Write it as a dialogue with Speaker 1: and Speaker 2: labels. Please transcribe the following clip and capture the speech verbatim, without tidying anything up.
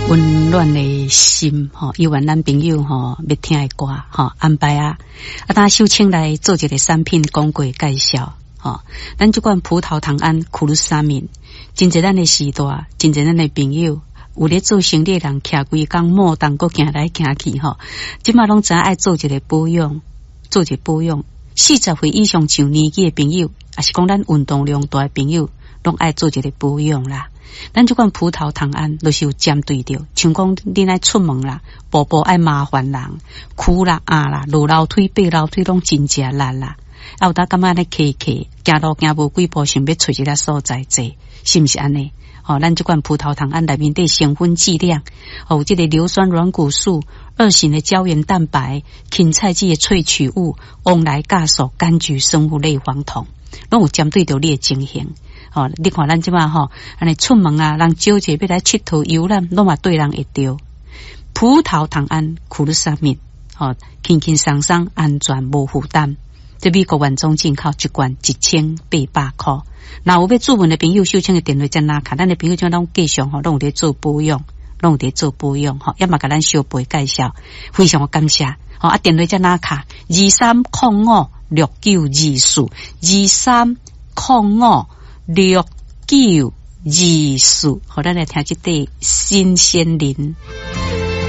Speaker 1: 溫暖的心吼，猶原咱朋友吼欲聽的歌吼安排啊，啊，等秀清來做一個產品廣告介紹吼。咱這款葡萄糖胺苦魯沙敏，真濟咱的時代，真濟咱的朋友。有咧做生理的人，徛規工莫當閣行來行去吼，這馬攏知影愛做一個保養，做一個保養。四十歲以上上年紀的朋友，抑是講咱運動量大的朋友，攏愛做一個保養啦。咱這款葡萄糖胺，就是有針對著，像講恁愛出門啦，步步愛麻煩人，跍啦、壓啦、落樓梯、爬樓梯攏真正力啦。啊，有當感覺按呢騎騎，行路行無幾步，想欲揣一个所在坐，是毋是按呢？吼，咱這款葡萄糖胺內面的成分劑量，有這個硫酸軟骨素、二型的膠原蛋白、芹菜籽的萃取物、黃來酵素、柑橘生物類黃酮，攏有針對著你的情形。吼，你看咱這馬吼，按呢出門啊，人招者欲來𨑨迌遊覽，攏嘛對人會著。葡萄糖胺苦魯沙敏，吼，輕輕鬆鬆，安全無負擔。這美國原裝進口一罐一千八百箍。若有欲諮詢的朋友，秀清的電話遮拿卡，咱的朋友這攏繼續吼，攏有咧做保養，攏有咧做保養吼，也嘛共咱小貝介紹，非常的感謝。吼啊，電話遮拿卡，二三空五六九二四，二三空五六九二四，好，咱來聽這塊新鮮人。